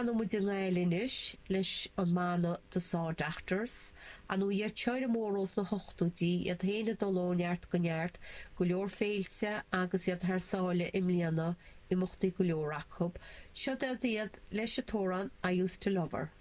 Fanfaidh muid i nGaillimh anois leis an mbanna The Saw Doctors. Ar ndóigh iad seo mór ós na hochtóidí, iad féin ag dul ó neart go neart, go leor féilte agus iad thar sáile i mbliana, imeachtaí go leor acu. Seo iad leis an t-amhrán I Used to Love Her.